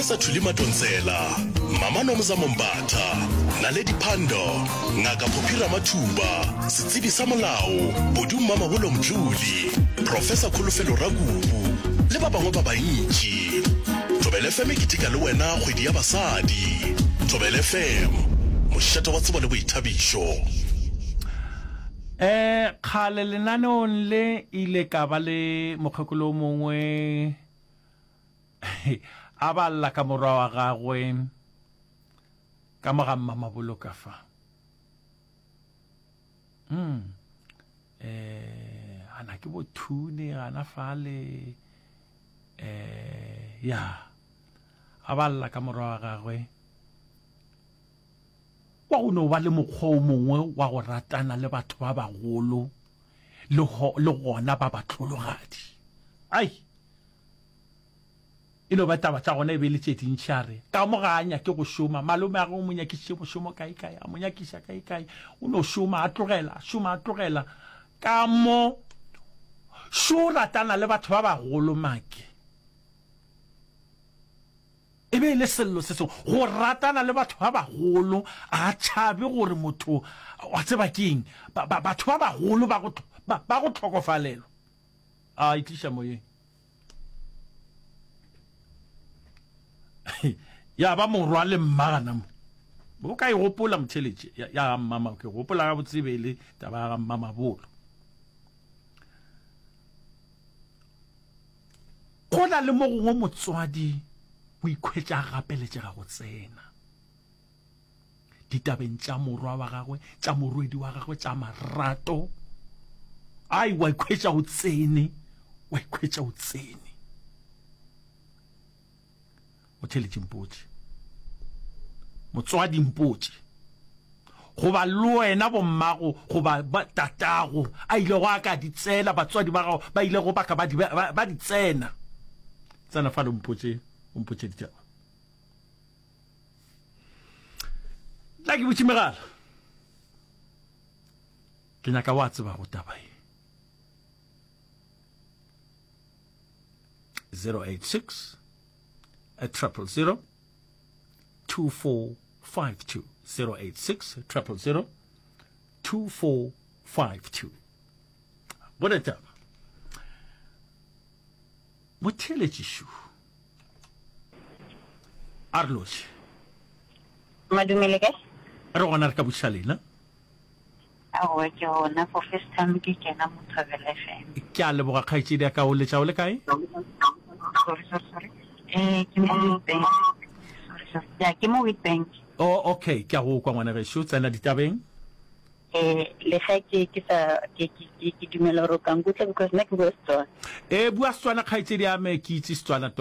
Professor Thuli Madonsela, Mama Nomzamo Mbatha, Naledi Pandor, Ngaka Phophi Ramathuba, setsebi sa molao, Bodu Mmamabolo Mdluli, Professor Kholofelo Rakubu le ba bangwe ba bantši. Thobela FM e keteka le wena kgwedi ya basadi. Thobela FM, mošate wa tsebo le boithabišo. Eh, kgale lenaneong le ile ka ba le mokgekolo o mongwe a ba lla ka morwa wa gagwe ka mo ga mmamabolo ka fa. Mm. Eh, ana ke bo thune gana fale eh ya a ba lla ka morwa wa gagwe wa go no ba le mokgwa o mongwe wa go ratana le batho ba bagolo le le gona ba batlhologadi ai E no ba taba tša gona e be e le tše dintši. A re, Ka mo ga a nyake go šoma. Malome a gagwe o mo nyakišitše mošomo kaekae, a mo nyakiša kaekae. O no šoma, a tlogela, a šoma, a tlogela. Ka mo šo ratana le batho ba bagolo, Make. E be e le sello se sengwe, go ratana le batho ba bagolo. A tšhabe gore motho, wa tseba ke eng, ba, ba, batho ba bagolo ba go, ba, ba go hlokofalelwa. A e tliša moyeng. Ya ba morwa le mma gana mo. O ka e gopola motheletše ya, ya ga mmama, ke gopola ga botse be le taba ya ga mmamabolo. Go na le mo gongwe motswadi o ikhwetša a gapeletšega go tsena. ditabeng tša morwa wa gagwe, tša morwedi wa gagwe, tša marato. Ai, wa ikhwetša o tsene, wa ikhwetša o tsene. O theletše mpotše. Motswadi mpotše. Goba le wena bommago goba tatago a ilego a ka di tsena, batswadi ba gago ba ilego ba ka ba di, ba, ba di tsena. Tsena fale o mpotše, o mpotše ditaba. Tla ke butše megala. Ke nyaka wa tsebago taba ye. 086 000 2452 086 000 2452 Bone taba. Motheeletši šo. A re lotšhe. Madume le kae? Re gona re ka botšiša lena. Aowa ke gona for first time ke kena mo Thobela FM. Ke a leboga kgaetšedi ya ka o letša o le kae? Sorry sorry sorry. Eh ke mo Witbank. Sorry sorry. Ya ke mo Witbank. Oh okay, ke a go kwa ngwana gešo, tsena ditabeng. Eh le ge ke ke sa ke ke ke dumela gore o ka nkutla because nna ke bua Setswana. Eh bua Setswana kgaetšedi ya me ke itse Setswana tota.